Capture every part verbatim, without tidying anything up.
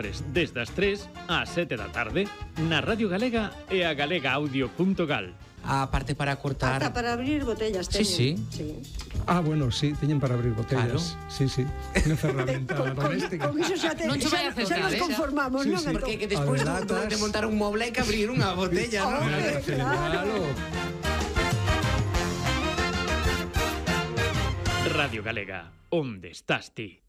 Desde as tres ás sete da tarde na Radio Galega e a galega audio punto gal. A parte para cortar... Ata para abrir botellas teñen. Sí, sí. sí. Ah, bueno, sí, teñen para abrir botellas. Claro. Sí, sí. Unha ferramenta con, doméstica. con, con iso xa, te, Non che vai a xa, acercar, xa nos eh? conformamos, Sí, non? sí. Porque que despois A de, latas. de montar un moble hai que abrir unha botella, non? Hombre, claro. Radio Galega, onde estás ti?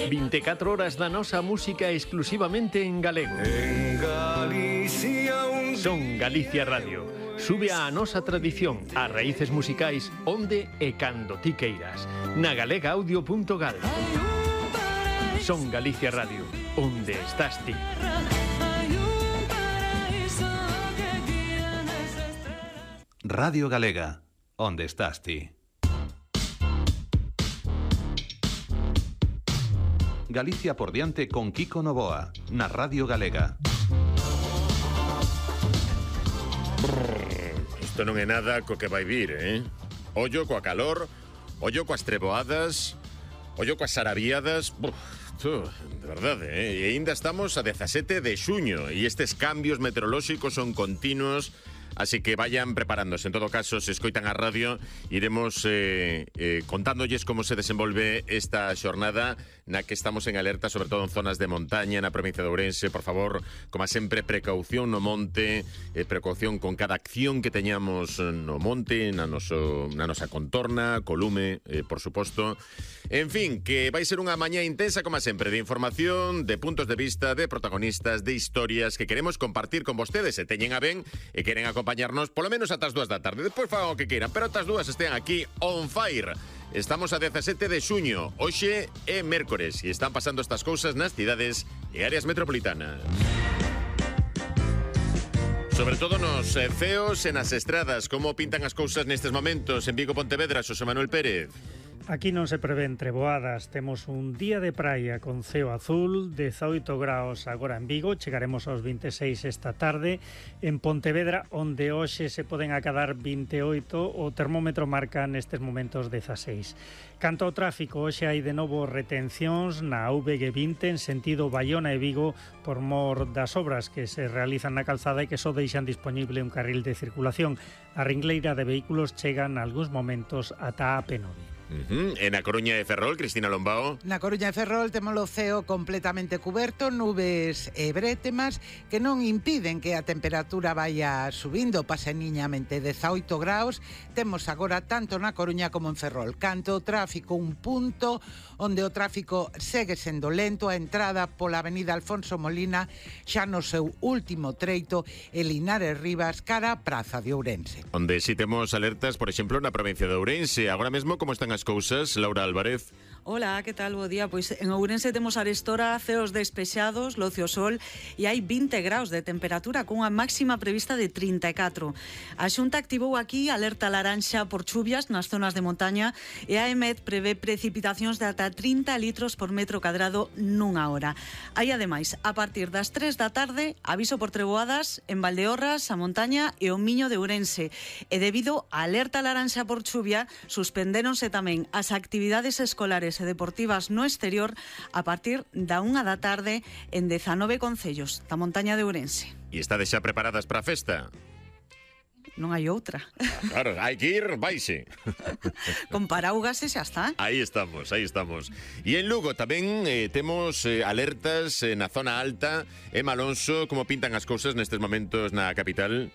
veinticuatro horas da nosa música exclusivamente en galego. En Galicia un Son Galicia Radio. Sube a nosa tradición, as raíces musicais onde e cando ti queiras. Na galega audio punto gal. Son Galicia Radio, onde estás ti? Radio Galega, onde estás ti? Galicia por diante con Kiko Novoa, na Radio Galega. Isto non é nada co que vai vir, eh? Ollo coa calor, ollo coas treboadas, ollo coas arabiadas... Buf, tú, de verdade, eh? E ainda estamos a dezasete de xuño e estes cambios meteorolóxicos son continuos. Así que vayan preparándose. En todo caso, se escoitan a radio, iremos eh, eh, contándolles como se desenvolve esta xornada na que estamos en alerta, sobre todo en zonas de montaña, na provincia de Ourense. Por favor, como sempre, precaución no monte, eh, precaución con cada acción que teñamos no monte, na, noso, na nosa contorna, colume, eh, por suposto. En fin, que vai ser unha mañá intensa, como sempre, de información, de puntos de vista, de protagonistas, de historias que queremos compartir con vostedes. Se teñen a ben e queren acompañar acompañarnos polo menos ata as dúas da tarde. Despois fagan o que queiran, pero ata as dúas estean aquí on fire. Estamos a dezasete de xuño, hoxe é mércores e están pasando estas cousas nas cidades e áreas metropolitanas. Sobre todo nos eh, ceos e nas estradas. Como pintan as cousas nestes momentos en Vigo, Pontevedra, Xosé Manuel Pérez? Aquí non se prevén treboadas, temos un día de praia con ceo azul, dezaoito graus agora en Vigo, chegaremos aos veintiséis esta tarde, en Pontevedra, onde hoxe se poden acadar veintioito, o termómetro marca nestes momentos dezaseis. Canto ao tráfico, hoxe hai de novo retencións na U V G vinte en sentido Baiona e Vigo por mor das obras que se realizan na calzada e que só deixan disponible un carril de circulación. A ringleira de vehículos chega nalgúns momentos ata a P nove. Uh-huh. En a Coruña de Ferrol, Cristina Lombao. Na Coruña de Ferrol temos o ceo completamente cuberto, nubes e brétemas que non impiden que a temperatura vaya subindo paseniñamente dezaoito graus. Temos agora tanto na Coruña como en Ferrol. Canto o tráfico, un punto onde o tráfico segue sendo lento, a entrada pola avenida Alfonso Molina xa no seu último treito e Linares Rivas cara a Praza de Ourense. Onde si temos alertas, por exemplo, na provincia de Ourense. Agora mesmo, como están as cousas, Laura Álvarez? Hola, que tal? Bo día. Pois en Ourense temos arestora ceos despexados, locio sol e hai vinte graus de temperatura cunha máxima prevista de trinta e catro. A Xunta activou aquí alerta laranxa por chuvias nas zonas de montaña e a EMED prevé precipitacións de ata trinta litros por metro cadrado nunha hora. Hai ademais, a partir das tres da tarde, aviso por treboadas en Valdeorras, a montaña e o Miño de Ourense. E debido á alerta laranxa por chuvia, suspendéronse tamén as actividades escolares e deportivas no exterior a partir da unha da tarde en dezanove concellos da montaña de Ourense. E estades xa preparadas para a festa? Non hai outra. Ah, claro, hai que ir, vaise. Con paraugas e xa está. Aí estamos, aí estamos. E en Lugo tamén eh, temos eh, alertas eh, na zona alta. Emma Alonso, como pintan as cousas nestes momentos na capital?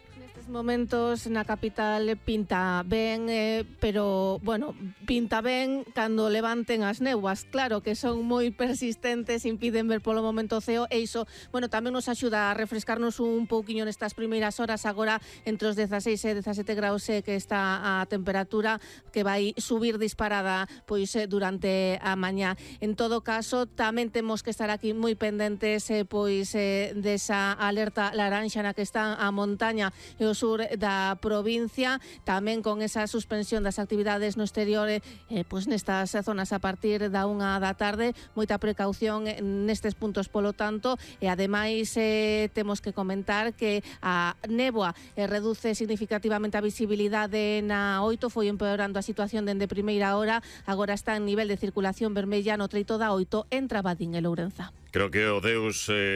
Momentos na capital pinta ben, eh, pero, bueno, pinta ben cando levanten as néboas. Claro que son moi persistentes, impiden ver polo momento o ceo e iso, bueno, tamén nos axuda a refrescarnos un pouquiño nestas primeiras horas. Agora entre os dezaseis e dezasete graus eh, que está a temperatura, que vai subir disparada pois eh, durante a mañá. En todo caso, tamén temos que estar aquí moi pendentes eh, pois eh, desa alerta laranxa na que está a montaña e os sur da provincia, tamén con esa suspensión das actividades no exterior eh, pois nestas zonas a partir da unha da tarde. Moita precaución nestes puntos polo tanto, e ademais eh, temos que comentar que a néboa eh, reduce significativamente a visibilidade na oito, foi empeorando a situación dende primeira hora, agora está en nivel de circulación vermella no treito da oito entre Abadín e Lourenza. Creo que o Deus... Eh...